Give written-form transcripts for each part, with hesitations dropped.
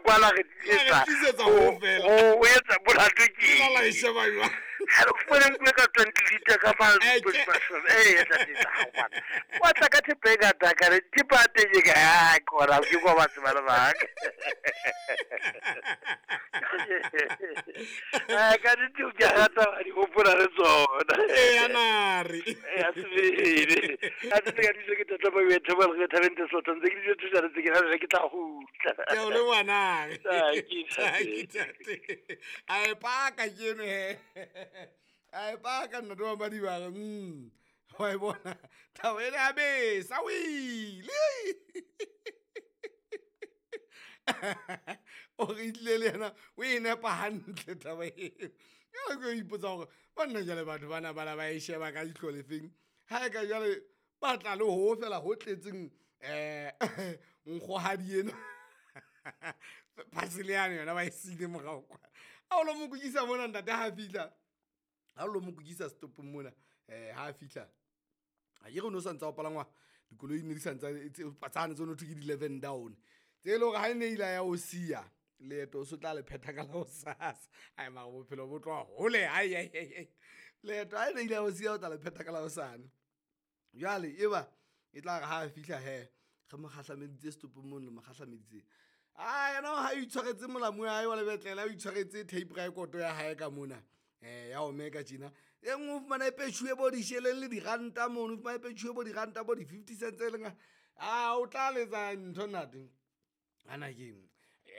kwala re tlisetsa ho etsa molato ke ha re fumane nkuwe ka 20 liter ka fa wa tla ka thepa e ngata ka re thepa ya teng e ka a kona ke kwa batho ba le baka ka nnete ke a rata wa di hopola le tsona eya nare ya sebele a tse ka dijo ke tata ba bethe ba re thabeng tse sotho ntse ke dijo thusa ntse ke re ke tla gutla ke o le ngwanake tate a e paka ke eno he a e paka nna to ba dibaka wa e bona thabo ene ya besa o ile o re itlile le yena o e nepa hantle taba eo jale ke ipotsa gore banna jale batho bana bana ba e sheba ka ihlo lefeng ga e ka jale ba tla le ho fela ho tletseng nkgohadi ena phasele yane yona ba e siile morao kwa a o lo mo kukisa mona ntate ha fitlha ha o lo mo kukisa setopong mona ha fitlha a ke re no sa ntse o palangwa dikoloi ne di sa ntse tsane tse no thwe ke di-11 down tse e le gore ga e ne ile ya o sia leeto o se tla le phetha ka la hosasa ai mara bophelo bo tloha hole ai ai ai leeto ha e ne ile ya o sia o tla le phetha ka la hosane jwale e ba e tla re ha a fihla he re mo kgahlameditse setopong mono mo kgahlameditse a yena ha itshwaretse molamu ya hae wa lebetlela o itshwaretse tape record ya hae ka mona ya omeka tjena e nngwe o fumana e petšhuwe bo disheleng le diranta mono o fumana e petšhuwe bo diranta bo di-50 cents e leng a o tla letsa ntho nate hana keng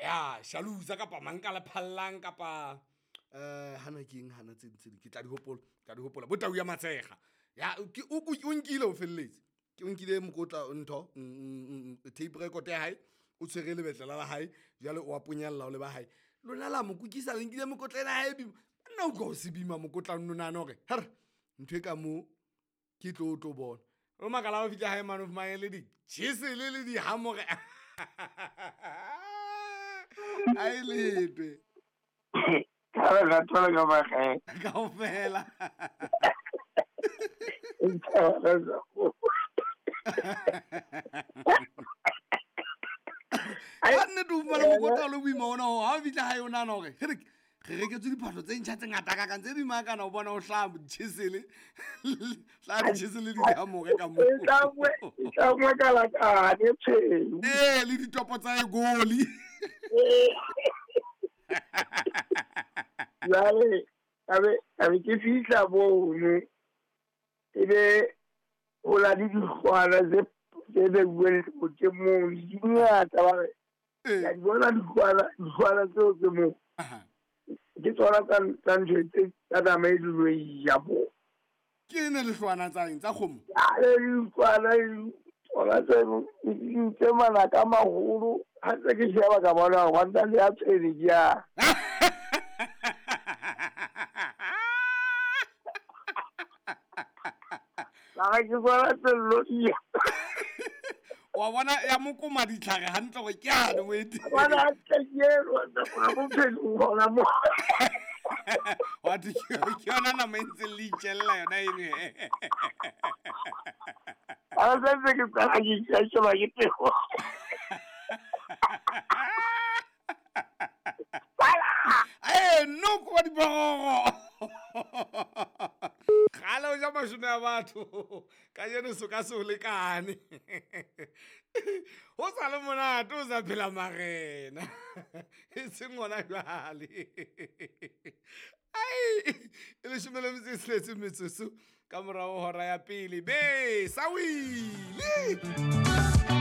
ya shalusa kapa mang ka le phallang kapa hana keng hana tse ding tse ding ke tla di hopola tla di hopola bo tau ya matshega ya ke o nkile o felletse ke o nkile mokotla ntho tape record ya hae o tshwere lebetlela la hae jwale o a ponyalla o le ba hae lona la mo kukisa le nkile mokotla ena hae bima nna o utlwa o se bima mokotla nno nahana hore her ntho e ka mo ke tlo tlo bona o makala o fihla hae mane o fumane le di-chisel le dihamore a e letwe kaofela ka nnete o fumane mokotla o le boima ona ho ha o fihla hae o nahana hore re reketswe diphahlo tse ntjha tse ngata kakang tse bima kana o bona o hlaha ditjhesele hlaha ditjhesele di dihamore ka moo ee le ditopo tsa egoli jwale ka be ke fihla mono e be ho na le dikgwana tse beuweng tse mono di ngata ba re ka di bona dikgwana tseo tse moo ke tsona tsa ntho tse tsa nama e dilo e ja mo ke ne lehlwana tsa eng tsa kgomo ale dikgwana tsona tseno tse manaka maholo ha ntse ke sheba ka bona hore wa le ya tshwene ke ya mara ke bona tsello dia wa bona ya mokoma ditlhare hantle gore ke ane o ete bona hantle ke eno gona bophelong gona mo wa thwe ke yona nama e ntseng le itjella yona eno a santse ke qala ke sheba ke pego ee noko wa diphororo gale o ja mashome a batho ka jeno so ka se o lekane ho sa le monate o sa phela marena e seng gona jwale ai e leshome le metso e tsheletse metsotso ka morago hora ya pele be sa wile.